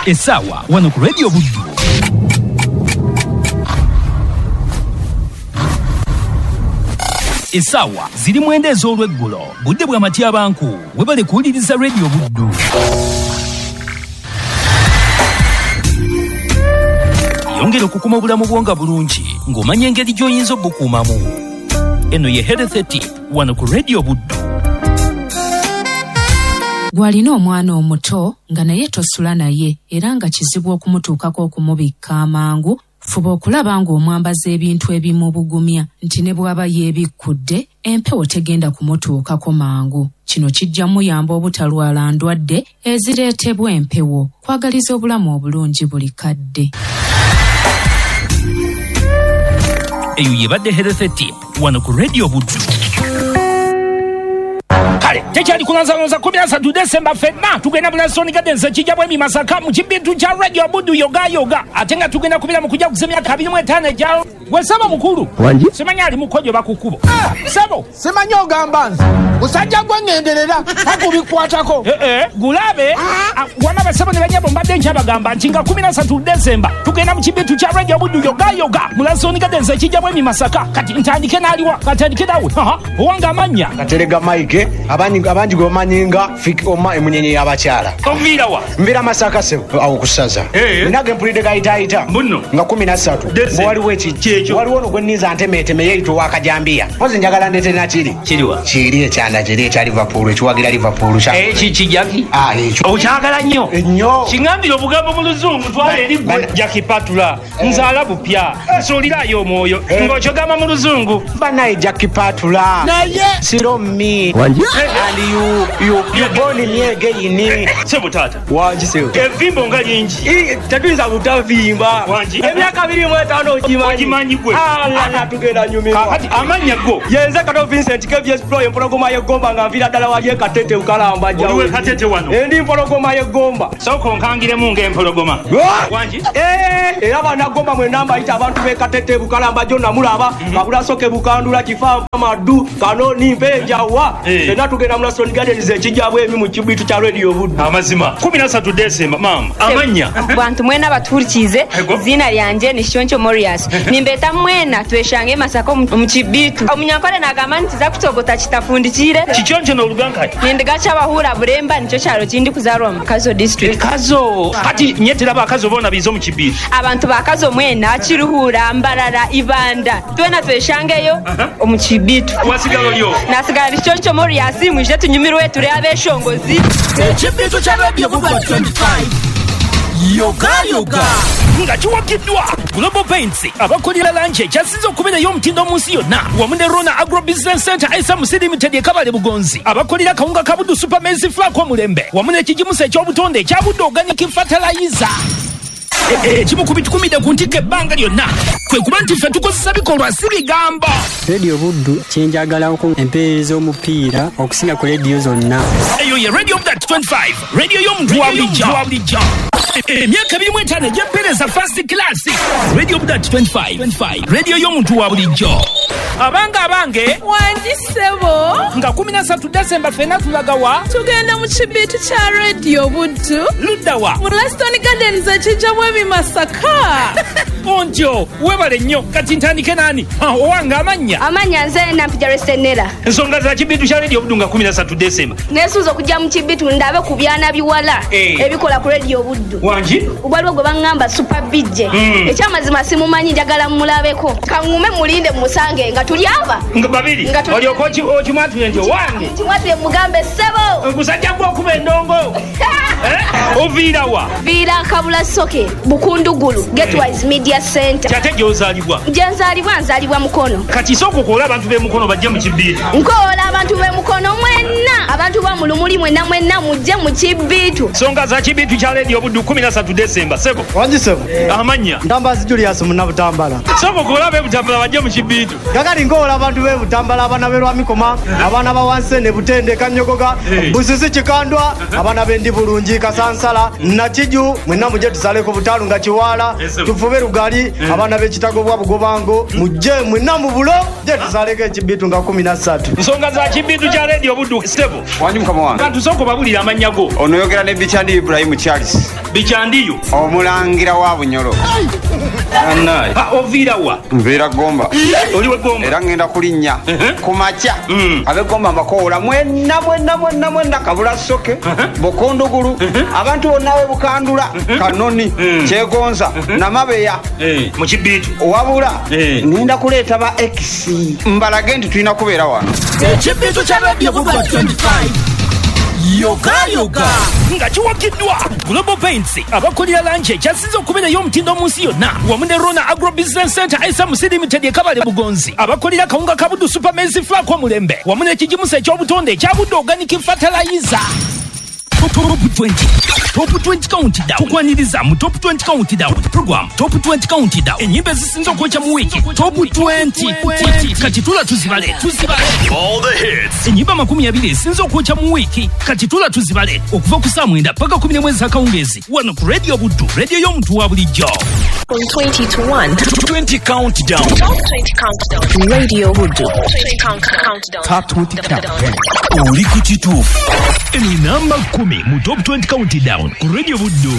[SPEAKER 1] Essaawa wano ku Radio Buddu. Essaawa ziri mwenda ez'olweggulo, budde bwa matyabanku. Webale kuwuliriza Radio Buddu. Yongera okukuma obulamu bwo nga bulungi ng'omanya engeri gy'oyinza obukuumamu. Eno ye Health Tip wano ku Radio Buddu.
[SPEAKER 9] Gw'alina omwana omuto nga naye tosula naye era nga kizibu okumutuukako okumubikka amangu, fuba okulaba ng'omwambaza ebintu ebimubugumya nti ne bw'aba yeebikkudde empewo tegenda kumutuukako mangu. Kino kijja muyamba obutalwala ndwadde ezireetebwa empewo. Kwagaliza obulamu obulungi buli kadde.
[SPEAKER 1] Eyo yebadde Health Tip wano ku Radio Buddu. Kale tekyali kulanzalonza kumi na ssatu Desemba ffenna tugenda mu Laston Gardens ekijja bwemi Masaka mu kibintu kya Radio Buddu yoga yoga, ate nga tugenda kubeera mu kujja kuza emyaka abiri mu etaano egya gwe ssebo mukulu.
[SPEAKER 10] Wangi?
[SPEAKER 1] Simanyi ali mukojo bakukubo. Ssebo
[SPEAKER 10] simanyi ogamba nze musajja gwe ŋŋenderera takubikwatako.
[SPEAKER 1] Eh eh, gulabe wama basebo ne banyabo mbadde nkyabagamba nti nga kumi na ssatu Desemba tugenda mu kibintu kya Radio Buddu yoga yoga mu Laston Gardens ekijja bwemi Masaka. Kati ntandike n'aliwa? Katandike nawe. Owange amannya
[SPEAKER 10] Katerega Mike, abangi abangi gwe bamanyi nga Fik Oma emunyenye y'abakyala.
[SPEAKER 1] Onviira wa?
[SPEAKER 10] Nviira Masaka ssebo awo ku ssaza. Nage mpulidde gayitaayita nga kumi na ssatu waliwo ekijja, waliwo ono gwe nninza ntemeeteme yeeyita ow'akajambiya. Mpozi njagala ndeete nakiri.
[SPEAKER 1] Kiriwa?
[SPEAKER 10] Kiri ekyanda kiri ekya Liverpool, ekiwagira Liverpool.
[SPEAKER 1] Eki kijaki?
[SPEAKER 10] Ah, ekyo.
[SPEAKER 1] Okyagala nnyo?
[SPEAKER 10] Nnyo.
[SPEAKER 1] Kiŋŋambire obugambo mu Luzungu twala eri ggwe. Jackie Patula, nzaala bupya, nsuulirayo omwoyo ng'okyogamba mu Luzungu.
[SPEAKER 10] Bannaye Jackie Patula.
[SPEAKER 1] Naye
[SPEAKER 10] Siromi.
[SPEAKER 1] Wangi?
[SPEAKER 10] And you, you, you born me again.
[SPEAKER 1] Sebo tata.
[SPEAKER 11] Wangi sebo.
[SPEAKER 1] Evimbo nga lingi.
[SPEAKER 11] Tetuyinza butavimba.
[SPEAKER 1] Wangi?
[SPEAKER 11] Emyaka abiri mu etaano ogimanyi.
[SPEAKER 1] Ogimanyi gwe.
[SPEAKER 11] Ala tugenda nyumirwa.
[SPEAKER 1] Kakati amannya go.
[SPEAKER 11] Yenze Kato Vincent K B S Pro empologoma y'eggomba nga nviira ddala wali e Katete Bukalamba jjawo.
[SPEAKER 1] Oliwe Katete wano.
[SPEAKER 11] Endi mpologoma y'eggomba.
[SPEAKER 1] Sooka onkangiremu ng'empologoma. Wangi?
[SPEAKER 11] Eh, era bannagomba mwenna mbayita abantu b'e Katete Bukalamba gyo namulaba. Kabulasoke Bukandula Kifa Madu Kanoni Mpenjawa. Fenna tugenda mu Laston Gardens ekijja bwemi mu kibitu kya Radio Buddu.
[SPEAKER 1] Amazima. kumi na ssatu Desemba mama. Amannya.
[SPEAKER 12] Bantu mwena batuhurikize izina lyanje ni Shoncho Morias. Nimbeta mwena tweshange Masaka mu kibitu. Omunyankole nagamba nti za kutogota kitafundikire.
[SPEAKER 1] Kichoncho n'oluganka.
[SPEAKER 12] Nindiga kyabahura Buremba nicyo kyalo kindi kuzarwa mu Kazo district.
[SPEAKER 1] Kazo. Kati nyetera bakazo bona bizo mu kibitu.
[SPEAKER 12] Abantu bakazo mwena Kiruhura, Mbarara, Ibanda. Twena tweshangeyo omu kibitu.
[SPEAKER 1] Wasigalo lyo.
[SPEAKER 12] Nasigala Shoncho Morias mwije tunyumirwe turi abeshongozi.
[SPEAKER 13] Ekibitu kya Radio Buddu twenty-five. Yoga yoga
[SPEAKER 1] nga kiwagiddwa Global Paints abakolera langi ekyasinze okubeera ey'omutindo mu nsi yonna wamu ne Rona Agro Business Center S M C Limited e Kabale Bugonzi abakolera kawunga ka Buddu Super Maize Flour omulembe wamu n'ekigimusa eky'obutonde ekya Buddu Organic Fertilizer. Ekimu ku bitukumidde ku ntikko ebbanga lyonna kwe kuba nti ffe tukozesa bikolwa si bigambo.
[SPEAKER 14] Radio Buddu kyenjagalako empeereza omupiira okusinga ku rediyo zonna.
[SPEAKER 1] Eyo ye Radio Buddu twenty-five, radio y'omuntu wa bulijjo. Emyaka ebiri mu etaano egy'empeereza first class. Radio Buddu twenty-five, radio y'omuntu wa bulijjo. Abange abange.
[SPEAKER 15] Wangi ssebo.
[SPEAKER 1] Nga kumi na ssatu Desemba ffenna tulaga wa?
[SPEAKER 15] Tugenda mu kibitu kya Radio Buddu.
[SPEAKER 1] Ludda wa?
[SPEAKER 15] Mu Laston Gardens ekijja bwemi Masaka.
[SPEAKER 1] Ontyo, webale nnyo. Kati ntandike nani? Owange amannya.
[SPEAKER 12] Amannya nze Nampija Resenera.
[SPEAKER 1] Ensonga za kibitu kya Radio Buddu nga kumi na ssatu Desemba.
[SPEAKER 12] Neesunze okujja mu kibitu ndabe ku byana biwala ebikola ku Radio Buddu.
[SPEAKER 1] Wangi?
[SPEAKER 12] Waliwo gwe baŋŋamba Super B J. Ekyamazima simumanyi njagala mmulabeko. Kaŋŋume mulinde musange nga tuli aba.
[SPEAKER 1] Nga babiri. Olyoka okimwatule nti owange.
[SPEAKER 12] Nkimwatule mugambe ssebo.
[SPEAKER 1] Gusajja gwe okuba endongo. Oviira wa?
[SPEAKER 12] Viira Kabulasoke, Bukundugulu, Getwise Media. Media Center.
[SPEAKER 1] Kyate gy'ozaalibwa?
[SPEAKER 12] Gye nzaalibwa nzaalibwa Mukono.
[SPEAKER 1] Kati sooka okoola abantu b'e Mukono bajje mu kibiitu.
[SPEAKER 12] Nkoola abantu b'e Mukono mwenna, abantu ba mu Lumuli mwenna mwenna mujje mu kibiitu.
[SPEAKER 1] Nsonga za kibiitu kya Leediyo Buddu kumi na ssatu Desemba. Sebo.
[SPEAKER 16] Wangi sebo.
[SPEAKER 1] Amannya?
[SPEAKER 16] Ntambazi Julius Munnabutambala.
[SPEAKER 1] Sooka okoola ab'e Butambala bajje mu kibiitu.
[SPEAKER 16] Kakati nkoola abantu b'e Butambala, abaana b'e Lwamikoma, abaana ba Wansene, Butende, Kanyogoga, Busisi, Kikandwa, abaana b'e Ndibulungi, Kasansala, Nakiju, mwenna mujje tusaleko Butalu nga Kiwala, tufube Lugali, abaana b'e Kitagobwa Bugobango, mujje mwenna mu bulo, mujje tusaleko ekibiitu nga kumi na ssatu.
[SPEAKER 1] Nsonga za kibiitu kya Leediyo Buddu. Sebo.
[SPEAKER 17] Wangi mukama wange.
[SPEAKER 1] Kantu sooka obabulire amannya go.
[SPEAKER 17] Ono yogera ne Bichandi Ibrahim Charles.
[SPEAKER 1] Bichandiyo.
[SPEAKER 17] Omulangira wa Bunyoro.
[SPEAKER 1] Oviira wa?
[SPEAKER 17] Nviira Gomba.
[SPEAKER 1] Oli we Gomba?
[SPEAKER 17] Era ngenda kulinnya ku makya. Ab'e Gomba mbakoola mwenna mwenna mwenna mwenna Kabula Soke, Bokondugulu, abantu bonna ab'e Bukandula, Kanoni, Kyegonza, Namabeya.
[SPEAKER 1] Mu kibiitu.
[SPEAKER 17] Wabula ngenda kuleeta ba X mbalage nti tulina kubeera wano.
[SPEAKER 13] Ekibiitu kya Leediyo Buddu twenty-five. Yoga yoga
[SPEAKER 1] nga kiwagiddwa Global Paints abakolera langi ekyasinze okubeera ey'omutindo mu nsi yonna wamu ne Rona Agro Business Center S M C Limited e Kabale Bugonzi abakolera kawunga ka Buddu Super Maize Flour omulembe wamu n'ekigimusa eky'obutonde ekya Buddu Organic Fertilizer. Top twenty Top twenty Countdown tukwaniriza mu Top twenty Countdown program Top twenty Countdown enyimba ezisinze okwokya mu wiiki Top twenty kati tula tuzibale tuzibale
[SPEAKER 18] all the hits
[SPEAKER 1] enyimba makumi abiri ezisinze okwokya mu wiiki kati tula tuzibale okuva ku saa mwenda paka kumi n'emwe ez'akawungeezi wano ku Radio Buddu, radio y'omuntu wa bulijjo.
[SPEAKER 19] From twenty to one
[SPEAKER 18] twenty Countdown
[SPEAKER 19] Top twenty Countdown Radio Buddu twenty Countdown
[SPEAKER 18] Top twenty Countdown oli ku kituufu
[SPEAKER 1] eno namba kumi mu Top twenty Countdown ku Radio Buddu.